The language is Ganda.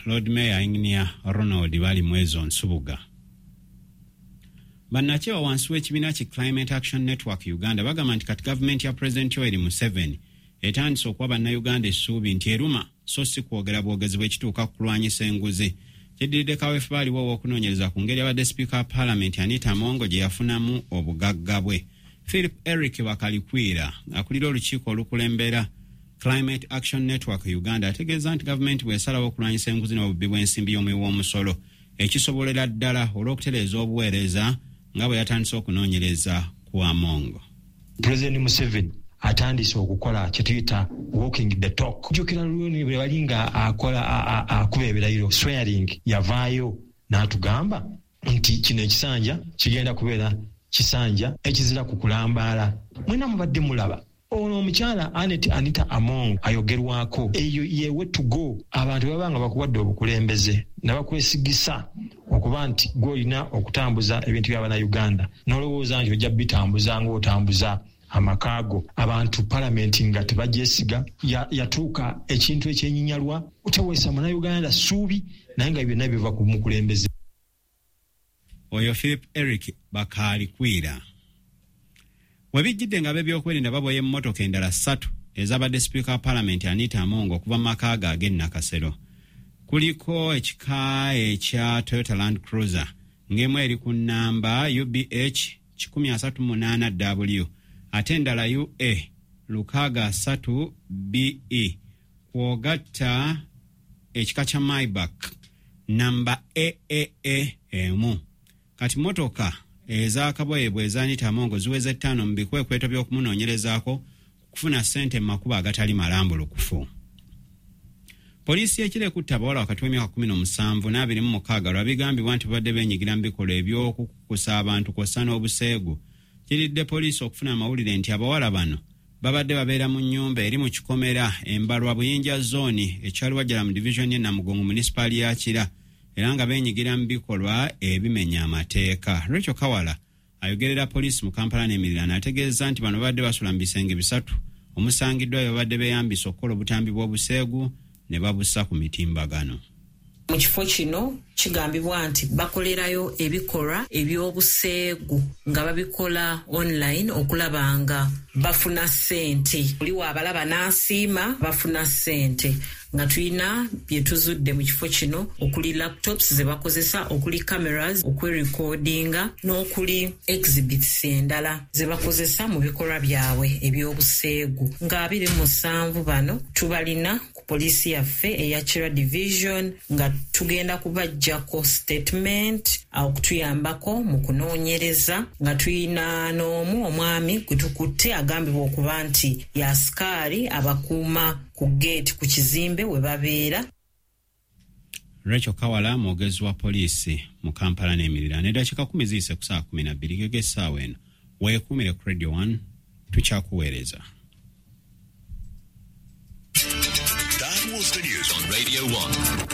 Lord Mayor Engineer Ronald Balimwezo Nsubuga. Bannakyewa wansi w'ekibiina ki Climate Action Network Uganda bagamba nti kati gavumenti ya Pulezidenti Yoweri Museveni etandise okuwa bannayuganda essuubi nti eruma so si kwogera bwogezi bwekituuka ku kulwanyisa enguzi. Kiddiridde kaweefube aliwo ow'okunoonyereza ku ngeri abadde sipiika wa Paalamenti Anita Among gye yafunamu obugagga bwe. Philip Eric Bakalikwira akulira olukiiko olukulembera Climate Action Network Uganda ategeeza nti gavumenti bw'esalawo okulwanyisa enguzi n'obubbi bw'ensimbi y'omuwi w'omusolo ekisobolera ddala olw'okutereeza obuweereza nga bwe yatandise okunoonyereza ku Among. Pulezidenti Museveni atandise okukola kye tuyita walking the talk. Jjukira luli bwe bali nga akola akuba ebirayiro swearing, yavaayo n'atugamba nti kino ekisanja kigenda kubeera kisanja ekizira ku kulambaala. Mwena mubadde mulaba ono omukyala Annet Anita Among ayogerwako, eyo ye way to go. Abantu baba nga bakuwadde obukulembeze ne bakwesigisa okuba nti gw'olina okutambuza ebintu by'Abannayuganda, n'olowooza nti ojja bitambuza ng'otambuza amaka go. Abantu palamenti nga tebagyesiga, yatuuka ekintu ekyenyinyalwa, teweesa Munnayuganda ssuubi, naye nga byonna biva ku mukulembeze. Oyo Philip Eric Bakalikwira. Webijjidde nga ab'ebyokwerinda baboya emmotoka endala 3 ezabadde sipiika wa Paalamenti Anita Among okuva mu maka ge ag'e Nakasero. Kuliko ekika ekya Toyota Land Cruiser ng'emu eri ku nnamba UBH 138W ate endala UA 63 BE, kw'ogatta ekika kya Maybach namba AAA 1. Kati mmotoka ez'akaboye bwe eza Anita Among ziweze 5 mu bikwekweto by'okumunoonyerezaako kufuna ssente mu makubo agatali malambulukufu. Poliisi y'e Kira ekutte abawala wakati w'emyaka 17 n'26 lwa bigambibwa nti babadde beenyigira mu bikolwa eby'okukukusa abantu kw'ossa n'obuseegu. Kiridde poliisi okufuna amawulire nti abawala bano babadde babeera mu nnyumba eri mu kikomera Embalwa Buyinja zooni ekyaliwajjala mu divizoni y'e Namugongo munisipaali ya Kira, era nga beenyigira mu bikolwa ebimenya amateeka. Rachel Kawala ayogerera poliisi mu Kampala n'emiriraano ategeeza nti bano babadde basula mu bisenge 3 omusangiddwa bye babadde beeyambisa okukola obutambi bw'obuseegu ne babussa ku mitimbagano. Mu kifo kino kigambibwa nti bakolerayo ebikolwa eby'obuseegu nga babikola online okulaba nga bafuna ssente. Oli waabalaba n'asiima bafuna ssente. Nga tulina bye tuzudde mu kifo kino okuli laptops ze bakozesa, okuli cameras okwerekodinga n'okuli exhibits endala ze bakozesa mu bikolwa byabwe eby'obuseegu. Nga 27 bano tubalina ku poliisi yaffe eya Kira Division nga tugenda kubajjako statement okutuyambako mu kunoonyereza, nga tulina n'omu omwami gwe tukutte agambibwa okuba nti y'asikaali abakuuma ku gate ku kizimbe we babeera. Rachel Kawala mwogezi wa poliisi mu Kampala n'emiriraano. Eddakiika 10 ziyise ku ssaawa 12 gege essaawa eno. Weekuumire ku Radio 1, tukyakuweereza. That was the news on Radio 1.